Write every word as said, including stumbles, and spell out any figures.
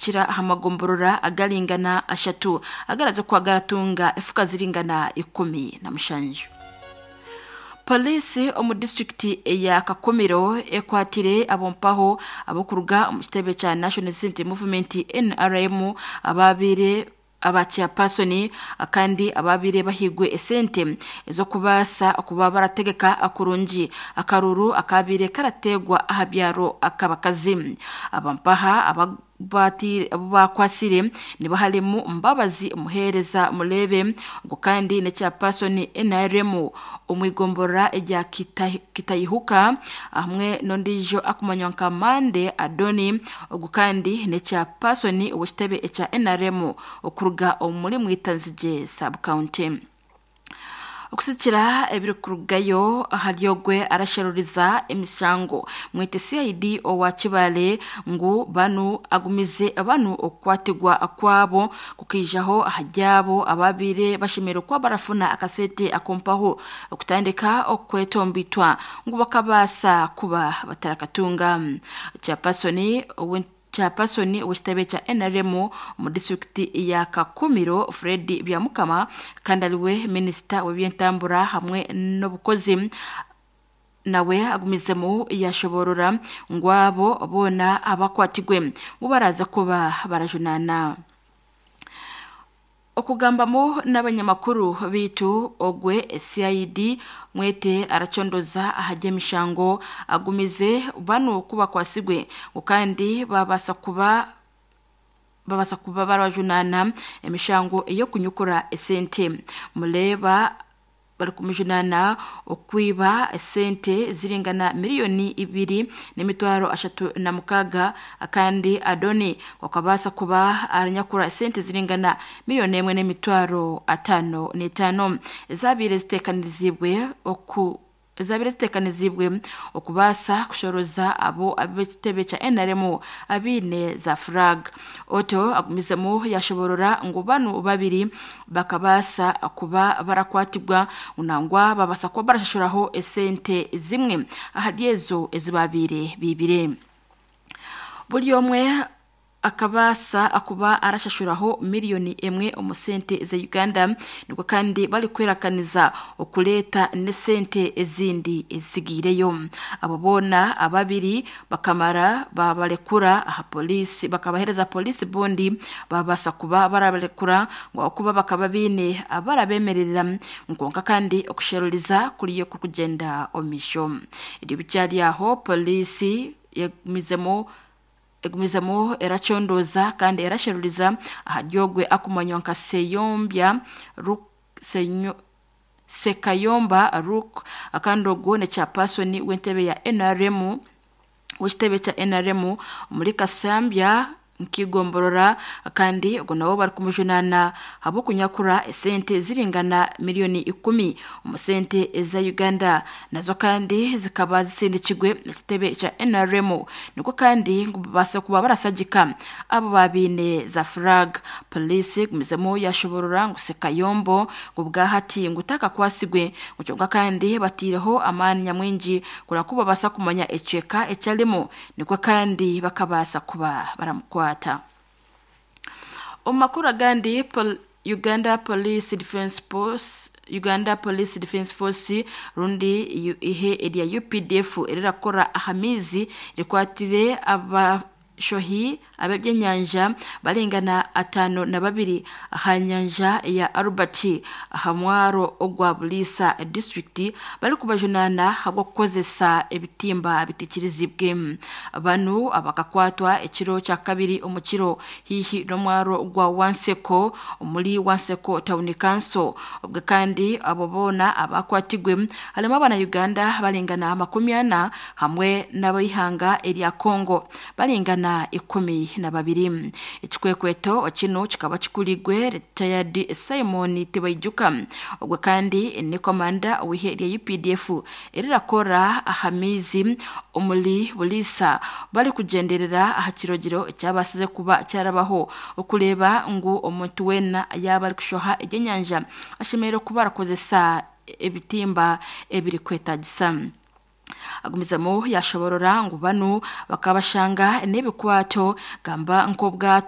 okukira aha magomborora agaringana ashatu agaraza kuba garatunga efuka ziringana ikumi na mushanju. Polisi omu disitulikiti eya Kakumiro ekwatire abompaho abokuruga omu kitebe kya National Resistance Movement N R M abaabire aba chairperson kandi abaabire bahigwe esente ezokubaasa okuba barategeka akurungi akaruru akaabire karategwa aha byaro akabakazi. Abampaha aba bakwasire nibo harimu Mbabazi Muhereza Murebe ngo kandi ne chairperson N R M omwigomborora erya Kitayihuka hamwe n'ondiijo akumanywa nka Mande Adoni ogu kandi ne chairperson ow'ekitebe ekya N R M okuruga omuri Mwitanzige sub county. Okusikira ebirikurugayo ahari ogwe arasharuriza emishango mwete C I D owa Kibale ngu banu agumize banu okukwatirwa kwabo kukijaho aharyabo ababire bashemereire kuba barafuna akasente akompaho okutandika okwetombitwa ngu bakabaasa kuba batarakatunga. Chairperson owe Chairperson w'ekitebe kya N R M omu disitulikiti ya Kakumiro Fred Byamukama kandi ariwe minisita w'ebyentambura hamwe n'obukozi nawe agumizemu yashoborora ngu abo boona abakwatirwe ngu baraza kuba barajunana. Okugambamu n'abanyamakuru bitu ogwe C I D mwete aracondoza ahajya emishango agumize banu kubakwasigwe ngu kandi babasa kuba babasa kuba barajunana emishango ey'okunyukura esente. Muleba bari kumujunana okwiba esente ziringana miliyoni ibiri n'emitwaro ashatu na mukaga kandi Adoni wakabasa kuba aranyakura esente ziringana miliyoni emwe n'emitwaro atano n'etano ezabire zitekanizibwe oku ezabire zitekanizibwe okubaasa kushoroza abo ab'ekitebe kya N R M abiine za flag. Oto agumizemu yashoborora ngu banu babiri bakabaasa kuba barakwatibwa nangwa babasa kuba barashashuraho esente zimwe ahari ezo ezibabire bibire. Buri omwe akabaasa akuba arashashuraho miliyoni emwe omu sente za Uganda nibwo kandi bari kwerakaniza okuleeta n'esente ezindi ezigiireyo. Abo boona ababiri bakamara babarekura aha polisi bakabahereza polisi bundi babaasa kuba barabarekura ngu okuba bakaba biine abarabemerera nkonka kandi okusheruriza kuriyo kukugyenda omu maisho. Ebyo bikyari aho polisi yagumizemu egumizemu eracondoza kandi erasheruriza aharyogwe akumanywa nka Seyombya Senyo Sekayomba Ruk akandi ogwo ne chairperson w'entebe ya N R M w'ekitebe kya N R M muri Kasambya nkigomborora kandi ogwo nabo bari kumujunana habw'okunyakura esente ziringana miliyoni ikumi omu sente eza Uganda nazo kandi zikaba zisindikirwe ekitebe kya N R M niko kandi ngu babaasa kuba barasagika abo babiine za flag. Polisi gumizemu yashoborora ngu Sekayombo ngu bwahati ngu takakwasibwe ngu kyonka kandi batiireho amaani nyamwingi kureba ku babaasa kumanya ecweka ekyarimu niko kandi bakabaasa kuba baramukwata. Omu makuru agandi Pol Uganda Police Defence Force Uganda Police Defence Force rundi ihe erya U P D F erirakora aha mizi rikwatire aba shohi ab'ebyenyanja barengana atano na babiri aha nyanja ya Albert aha mwaro ogwa Bulisa district bari kubajunana habw'okukozesa ebitimba bitikirizibwe. Banu abakakwatwa ekiro kya kabiri omu kiro hihi n'omwaro gwa Wanseko omuri Wanseko Town Council. Obwe kandi abo boona abakwatigwe harimo abana Uganda barengana makumi ana hamwe n'abaihanga erya Congo barengana ikumi na babiri. Ekikwekweto kino kikaba kikurigwe retired Simon Tibaijuka ogwe kandi ni komanda w'ihe rya U P D F erirakora aha mizi omuri Bulisa bari kugenderera aha kirogero ekyabasize kuba kyarabaho okureba ngu omuntu wena yaba ari kushoha ebyenyanja ashemereire kuba arakozesa ebitimba ebiri kwetagisa. Agumizamo yashoborora ngu banu bakabashanga n'ebikwato gamba nk'obwato.